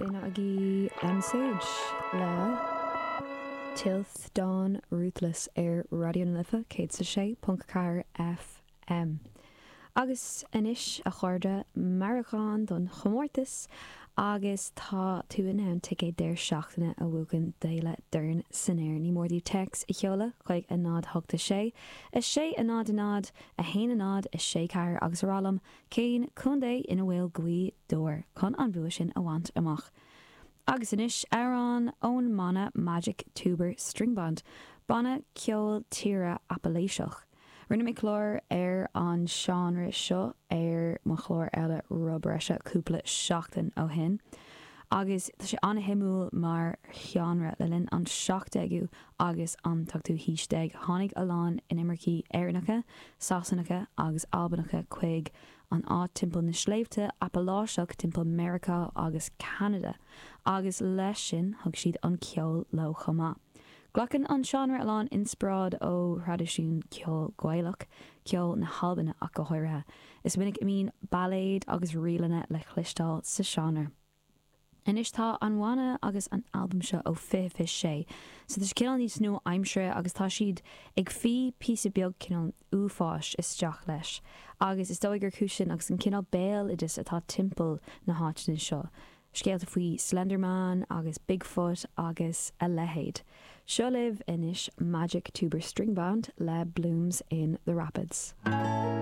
B'in agaibh Aimsage le Tilth Dawn Ruthless ar Raidió na Life 106.4 FM. Agus anois, a chairde, meabhrúchán don chomórtas agus tá tú in ann ticéad deireadh seachtaine a bhuachan d'Fhéile Dorn san Aer. Ní mór daoibh téacs a sheoladh chuig 0 8 6 6 0 0 1 0 6 4 agus a rá liom Cén contae ina bhfuil Gaoth Dobhair chun an bua sin a bhaint amach? Agus anois, amhrán ón mbanna Magic Tuber String Band, banna ceol tíre Apaláiseach. Rinne mé clár ar an seánra seo ar mo chlár eile Roth Breise cúpla seachtain ó shin agus tá sé an-shuimiúil mar sheánra. Le linn an 17ú agus an t-ochtú haois déag, tháinig a lán inimircigh Éireannacha, Sasanacha agus Albanacha chuig an áit timpeall na sléibhte Apaláiseach timpeall Meiriceá agus Ceanada, agus leis sin thug siad an ceol leo chomh maith. Glacann an seánra a lán inspioráid ó thraidisiún ceoil Gaelach, ceol na hAlban ach go háirithe. Is minic a mbíonn bailéid agus ríleanna le cloisteáil sa seánra. Anois tá an bhanna agus an albam seo ó 2026 so tá sé cineál níos nua-aimseartha agus tá siad ag fí píosa beag cineál uafáis isteach leis agus is dóigh gur cúis sin agus an cineál béaloideas atá timpeall na háiteanna seo, scéalta faoi Slender Man agus Bigfoot agus a leithéid. Seo libh anois Magic Tuber String Band le Blooms in the Rapids.